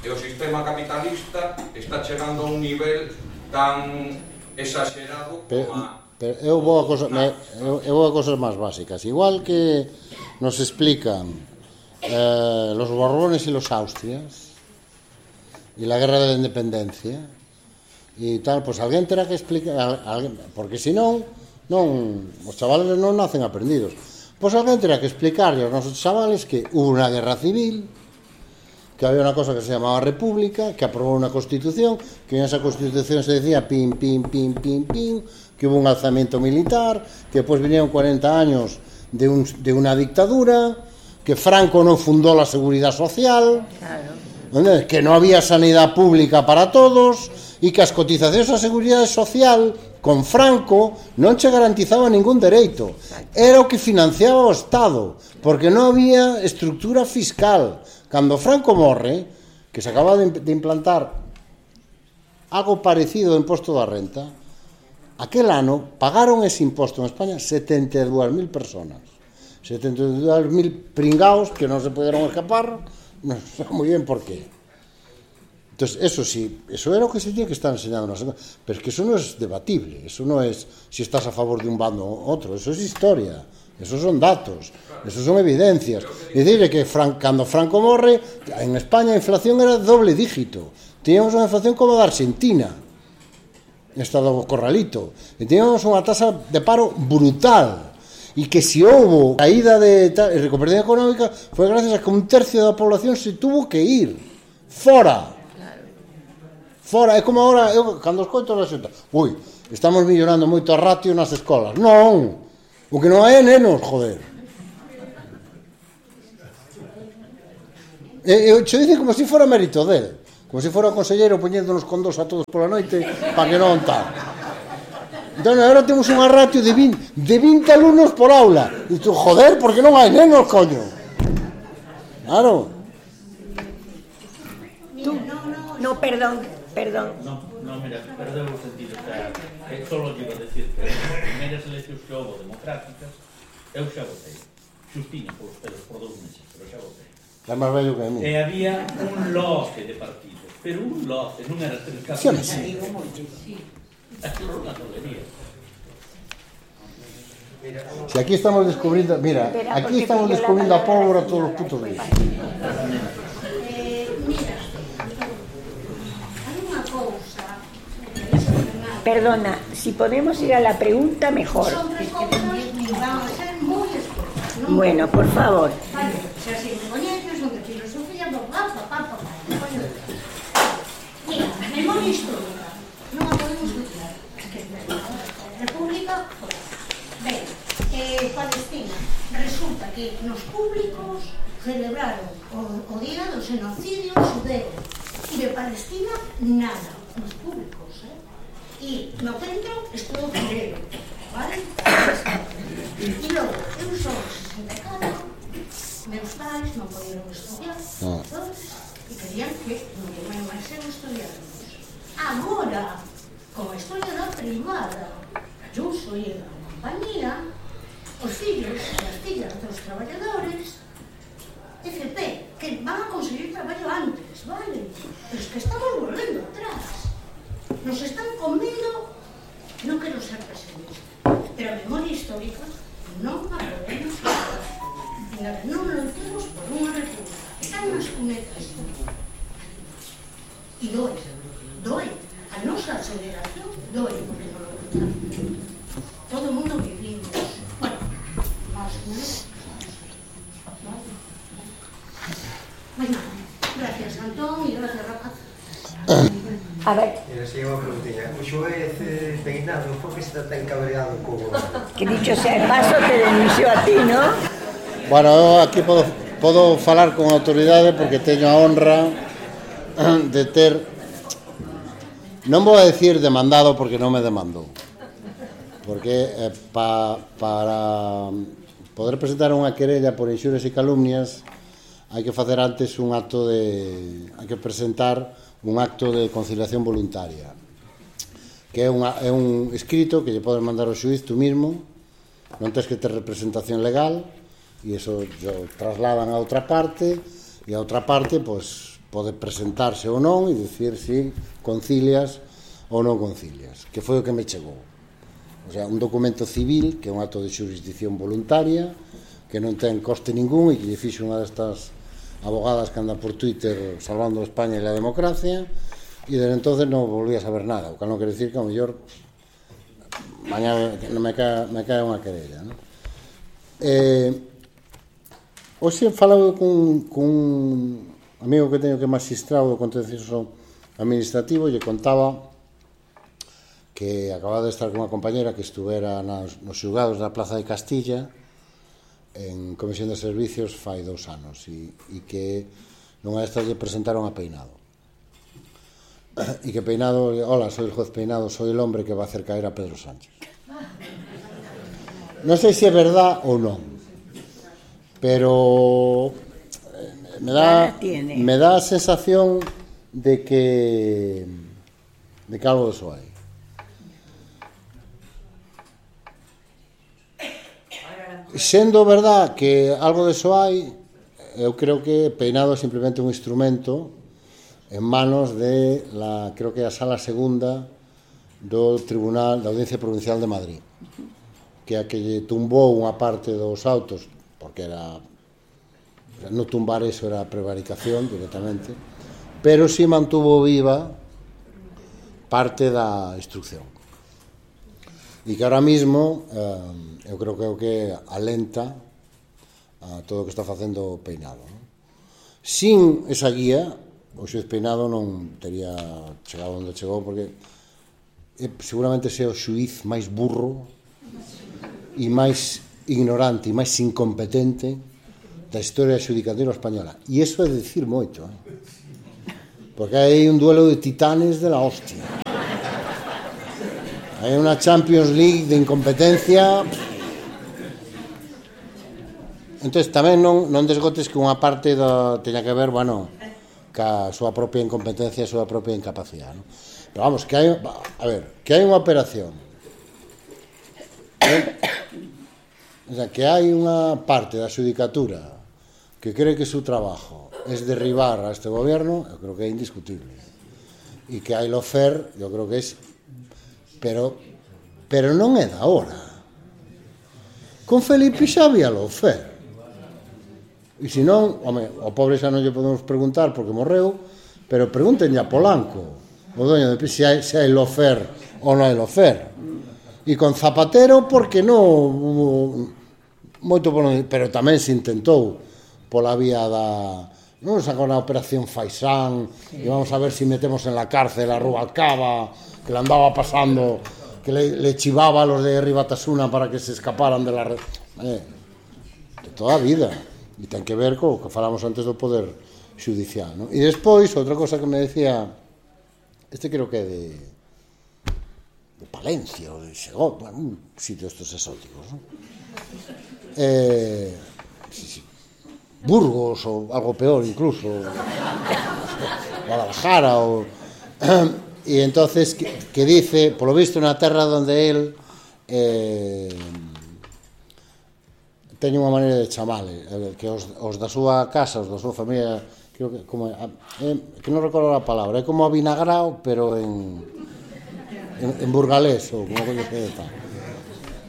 e o sistema capitalista está chegando a un nivel tan exagerado como a... Pero eu vou a cosas máis básicas. Igual que nos explican los Borbones y los Austrias y la guerra de la independencia y tal, pues alguén terá que explicar, porque si non os chavales non nacen aprendidos. Pues alguén terá que explicarle aos nosos chavales que hubo unha guerra civil, que había unha cosa que se llamaba República, que aprobou unha constitución, que en esa constitución se decía pim, pim, pim, pim, pim, que hubo un alzamiento militar, que despois vinieron 40 años de una dictadura, que Franco non fundou la seguridad social, claro, que non había sanidad pública para todos e que as cotizacións á seguridade social con Franco non che garantizaba ningún dereito, era o que financiaba o Estado, porque non había estructura fiscal. Cando Franco morre, que se acaba de implantar algo parecido ao imposto da renta, aquel ano pagaron ese imposto en España 72.000 personas. 72.000 pringaos que non se pudieron escapar, non sei moi bien por qué. Entonces, eso sí, eso era o que se tiene que estar enseñando, pero es que eso no es debatible, eso no es si estás a favor de un bando o otro, eso es historia, eso son datos, eso son evidencias. Es decir, que cando Franco morre, en España a inflación era doble dígito, teníamos unha inflación como a da Argentina, estado corralito, e teníamos unha tasa de paro brutal, y que si houve caída de recuperación económica foi gracias a que un tercio da población se tuvo que ir fora. É como agora, eu cando escoito na xunta, estamos mellorando moito a ratio nas escolas. Non, o que non hai é nenos, joder. Xo dicen como se fora mérito del, como se fora o conselleiro poñéndonos con dos a todos pola noite para que non tal. Entón, agora temos unha ratio de 20 alumnos por aula. E tú, joder, por que non hai nenos, coño? Claro. No, perdón. No, mira, perdeu o sentido. Solo llevo a decir que as primeiras eleccións que houve democráticas, eu xa votei. Xustiña polos pelos por 2 meses, pero xa votei. É máis vello que a mí. E había un lote de partidos, pero un lote, non era 3 casos. Sí. Aquilo era unha tolería. Si aquí estamos descubrindo, mira, aquí estamos descubrindo a pólvora todos os putos días. Perdona, si podemos ir a la pregunta, mejor. Bueno, por favor. Si así me coñeces, son de filosofía, Mira, memoria histórica. Non a podemos dudar. República, ben, Palestina. Resulta que nos públicos celebraron o día do xenocidio xudeo. E de Palestina, nada. Nos públicos, E no centro estudo primeiro, vale? E logo, eu sou 64, meus pais non podían estudiar, e querían que non máis eu estudiáramos. Agora, con a historia da privada, Ayuso e a compañía, os fillos e as fillas dos traballadores, FP, que van a conseguir traballo antes, vale? Pero es que estamos volvendo atrás. Nos están comendo, non quero ser pesimista, pero a memoria histórica non a podemos falar. Non loitemos por unha república. Están nas cunetas. E doe. A nosa aceleración doe, porque non loitamos. Todo o mundo vivimos. Bueno, máis ou menos. Bueno, gracias, Antón, e gracias, Rafa. A ver. Mira, se unha preguntilla. O xuez Peinado, por que está tan cabreado co goberno? Que dicho sea de paso, te denunció a ti, ¿no? Bueno, eu aquí podo falar con autoridade porque teño a honra de ter, non vou a decir demandado porque non me demandou, porque para poder presentar unha querella por inxurias e calumnias hai que facer antes hai que presentar un acto de conciliación voluntaria, que é un escrito que lle podes mandar ao xuiz tú mismo, non tens que ter representación legal, e iso trasladan a outra parte, e a outra parte pode presentarse ou non e dicir si concilias ou non concilias, que foi o que me chegou. O sea, un documento civil, que é un acto de xurisdicción voluntaria, que non ten coste ningún e que lle fixo unha destas abogadas que anda por Twitter salvando España e a democracia, e desde entonces non volví a saber nada, o que non quere dicir que ao mellor mañá me cae unha querella, non? Hoxe falaba con un amigo que teño que é magistrado do contencioso administrativo, lle contaba que acababa de estar con unha compañera que estuvera nos xulgados da Plaza de Castilla en comisión de servicios fai 2 anos e que nunha destas lle presentaron a Peinado e que Peinado, hola, soy el juez Peinado, soy el hombre que va a hacer caer a Pedro Sánchez. Non sei se é verdad ou non, pero me dá a sensación de que algo de eso hai. Sendo verdad que algo de eso hai, eu creo que Peinado é simplemente un instrumento en manos de creo que é a Sala Segunda do Tribunal da Audiencia Provincial de Madrid, que é a que lle tumbou unha parte dos autos, porque era non tumbar eso era prevaricación directamente, pero si mantuvo viva parte da instrucción. E que ahora mismo eu creo que é o que alenta a todo o que está facendo Peinado. Sin esa guía, o xuez Peinado non tería chegado onde chegou, porque seguramente sea o xuiz máis burro e máis ignorante e máis incompetente de da historia xudicatura española. E iso é dicir moito, porque hai un duelo de titanes de la hostia. Hai unha Champions League de incompetencia. Entón, tamén non desgotes que unha parte teña que ver, bueno, ca súa propia incompetencia e súa propia incapacidade, non? Pero vamos, que hai, a ver, que hai unha operación, o sea, que hai unha parte da xudicatura que cree que su trabajo es derribar a este gobierno, yo creo que es indiscutible. Y que hay lofer, yo creo que es... Pero non é da hora. Con Felipe xa había lofer. E se non, home, o pobre xa non lle podemos preguntar porque morreu, pero pregúntenlle a Polanco, o doño de se hai lofer ou non hai lofer. E con Zapatero, porque non... Moito por non... Pero tamén se intentou pola vía da... Non sacou na operación Faisán, e vamos a ver si metemos en la cárcel a Rubalcaba, que le andaba pasando, que le chivaba a los de Ribatasuna para que se escaparan de la... de toda a vida. E ten que ver co que falamos antes do poder xudicial, non? E despois, outra cosa que me decía, este creo que é de Palencia ou de Segó, bueno, un sitio estos exóticos, non? Sí. Burgos ou algo peor incluso, Guadalajara e entonces que dice, polo visto, na terra onde él teñe unha maneira de chamale, que os da súa casa, os da súa familia, creo que como que non recordo a palabra, é como avinagrao, pero en burgalés ou como coño que está.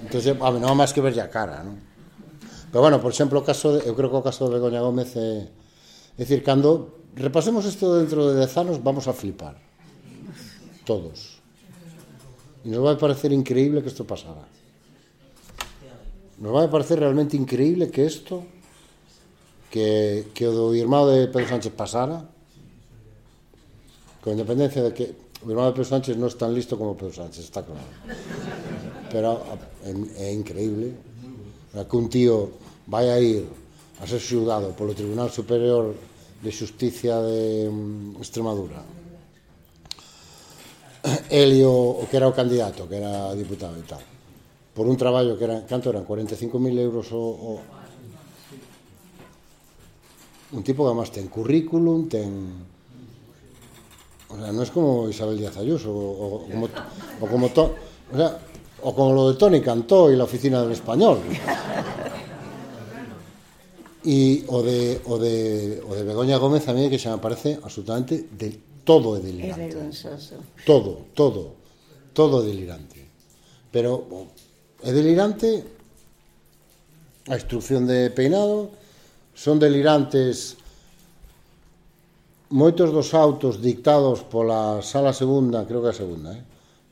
Entonces, a mí non há máis que verlle a cara, non? Pero bueno, por exemplo, eu creo que o caso de Begoña Gómez é dicir, cando repasemos isto dentro de 10 anos vamos a flipar todos e nos vai parecer increíble que isto pasara, nos vai parecer realmente increíble que isto que o do irmão de Pedro Sánchez pasara, con independencia de que o irmão de Pedro Sánchez non é tan listo como Pedro Sánchez, está claro, pero é increíble que un tío vai a ir a ser xulgado polo Tribunal Superior de Xusticia de Extremadura, el e o que era o candidato, que era diputado e tal, por un traballo que era, canto eran, 45.000 euros un tipo que además ten currículum, o sea, non é como Isabel Díaz Ayuso o como lo de Toni Cantó e la Oficina del Español. E o de Begoña Gómez a mí que xa me parece absolutamente todo é delirante. Todo é delirante. Pero é delirante a instrucción de Peinado, son delirantes moitos dos autos dictados pola Sala Segunda, creo que é a segunda,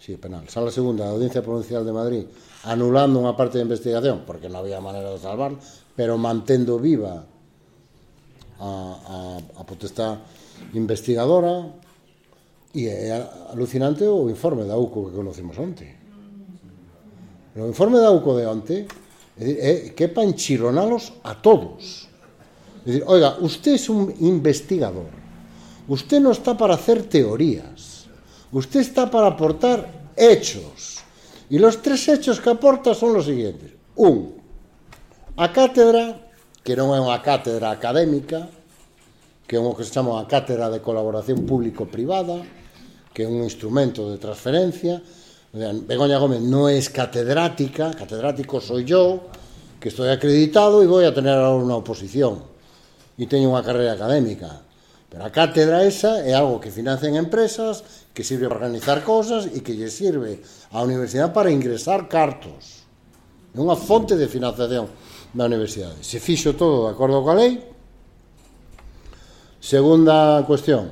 sí, penal, Sala Segunda da Audiencia Provincial de Madrid, anulando unha parte da investigación, porque non había maneira de salvar, pero mantendo viva a potestad investigadora, e é alucinante o informe da UCO que conocimos onte. O informe da UCO de onte é que é para enchironalos a todos. É dicir, oiga, usted es un investigador, usted no está para hacer teorías, usted está para aportar hechos, y los 3 hechos que aporta son los siguientes. A cátedra, que non é unha cátedra académica, que é o que se chama unha cátedra de colaboración público-privada, que é un instrumento de transferencia. Begoña Gómez non é catedrática, catedrático soy yo, que estoy acreditado e voy a tener ahora unha oposición e teño unha carrera académica. Pero a cátedra esa é algo que financian empresas, que sirve para organizar cosas e que lle sirve á universidade para ingresar cartos. É unha fonte de financiación da universidade. Se fixo todo de acordo coa lei. Segunda cuestión,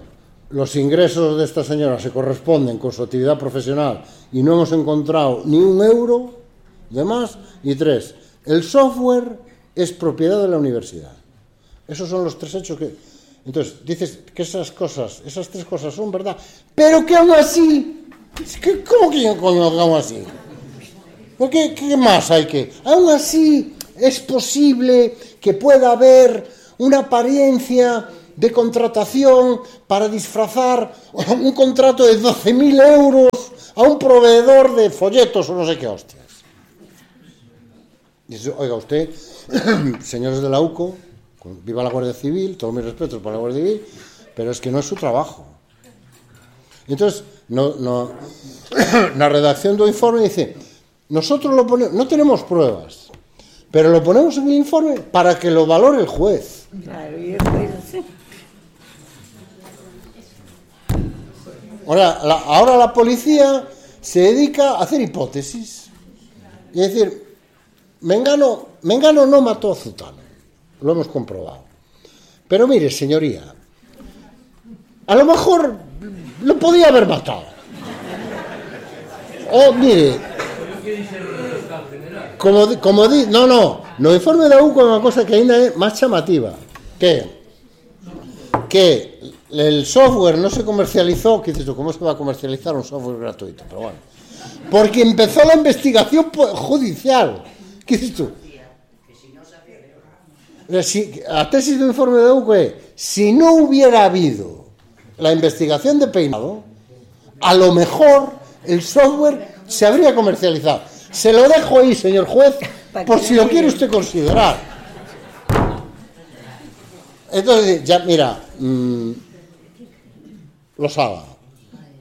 los ingresos de esta señora se corresponden con su actividad profesional y no hemos encontrado ni un euro de más. Y 3, el software es propiedad de la universidad. Esos son los 3 hechos que... Entonces, dices que esas 3 cosas son verdad, pero que aún así... ¿Cómo que aún así? ¿Qué más hay que...? Aún así, es posible que pueda haber una apariencia de contratación para disfrazar un contrato de 12.000 euros a un proveedor de folletos o no sé qué hostias. Dice, oiga usted, señores de la UCO, viva la Guardia Civil, todos mis respetos para la Guardia Civil, pero es que no es su trabajo. Entonces, la redacción del informe dice, nosotros lo ponemos, no tenemos pruebas, pero lo ponemos en el informe para que lo valore el juez. Claro, y el juez sí. Ahora la policía se dedica a hacer hipótesis y decir, Mengano no mató a Zutano, lo hemos comprobado. Pero mire, señoría, a lo mejor lo podía haber matado. O mire, no informe da UCO unha cosa que ainda é máis chamativa, que el software no se comercializó, que dices tú, ¿cómo se va a comercializar un software gratuito? Pero bueno, porque empezó la investigación judicial. ¿Qué dices tú? La tesis del informe de UCO es, si no hubiera habido la investigación de Peinado, a lo mejor el software se habría comercializado. Se lo dejo ahí, señor juez, por si lo quiere usted considerar. Entonces, ya, mira, Losada,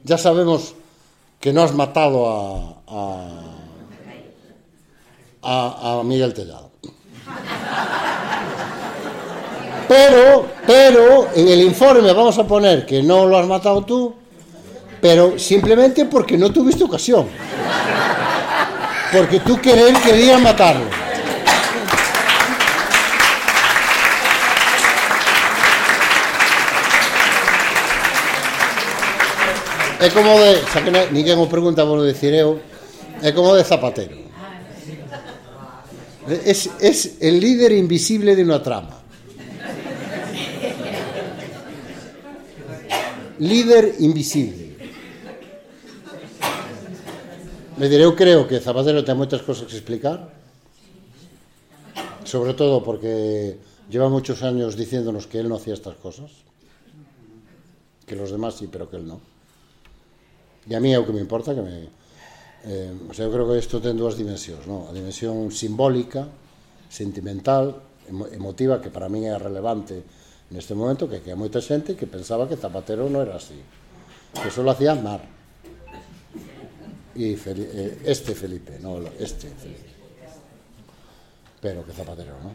ya sabemos que no has matado a Miguel Tellado. Pero en el informe vamos a poner que no lo has matado tú, pero simplemente porque no tuviste ocasión. Porque tú querías matarlo. É como de, xa que ninguén o pregunta, vos decir eu, é como de Zapatero. Es el líder invisible de una trama. Líder invisible. Me diré, eu creo que Zapatero ten moitas cosas que explicar, sobre todo porque lleva muchos años diciéndonos que él no hacía estas cosas, que los demás sí, pero que él no. E a mí é o que me importa, que o sea, eu creo que isto ten dúas dimensións, non? A dimensión simbólica, sentimental, emotiva, que para mí é relevante neste momento, que hai moita xente que pensaba que Zapatero non era así, que só lo hacía Aznar e Felipe, pero que Zapatero non.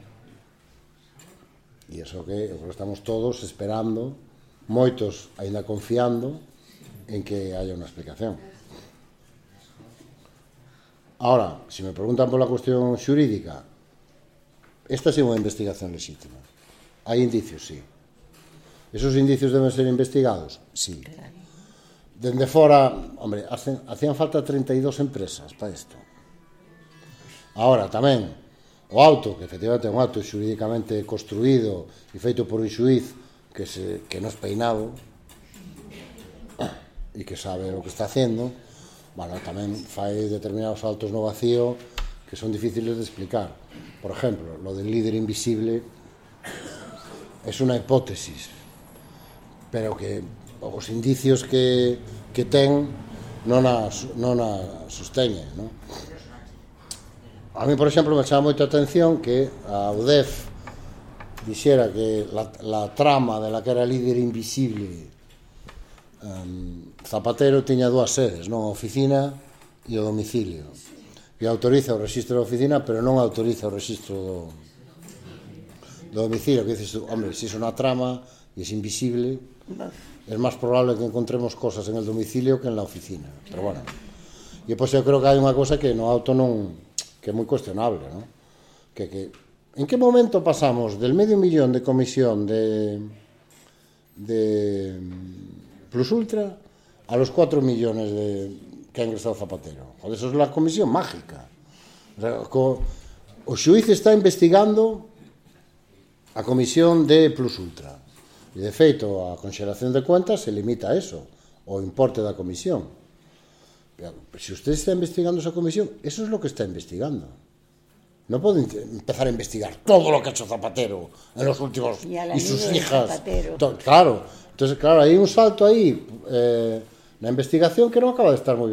E iso que estamos todos esperando, moitos aínda confiando en que haya una explicación. Ahora, si me preguntan por la cuestión xurídica, esta é unha investigación legítima. Hai indicios, sí. ¿Esos indicios deben ser investigados? Sí. Dende fora, hombre, hacían falta 32 empresas para isto. Ahora, tamén, o auto, que efectivamente é un auto xurídicamente construído e feito por un xuiz que non é peinado, e que sabe o que está haciendo, bueno, tamén fai determinados saltos no vacío que son difíciles de explicar. Por ejemplo, lo del líder invisible es una hipótesis, pero que os indicios que ten non a sosteñen, non? A mí, por exemplo, me chama moita atención que a UDEF dixera que la trama de la que era líder invisible Zapatero tiña dúas sedes, non a oficina e o domicilio, e autoriza o registro da oficina, pero non autoriza o registro do domicilio, que dices tú, hombre, se iso na trama e é invisible, é máis probable que encontremos cosas en el domicilio que en la oficina, pero bueno. E pois eu creo que hai unha cosa que no auto non, que é moi cuestionable, non? Que en que momento pasamos del $500,000 de comisión de Plus Ultra a los 4 millones que ha ingresado Zapatero. Joder, eso es la comisión mágica. O sea, o xuiz está investigando a comisión de Plus Ultra. E, de feito, a conxelación de cuentas se limita a eso, o importe da comisión. Pero, se usted está investigando esa comisión, eso es lo que está investigando. no pueden empezar a investigar todo lo que ha hecho Zapatero en los últimos Y sus amigo de hijas. Zapatero. Claro, entonces claro, hay un salto ahí, la investigación que no acaba de estar muy bien.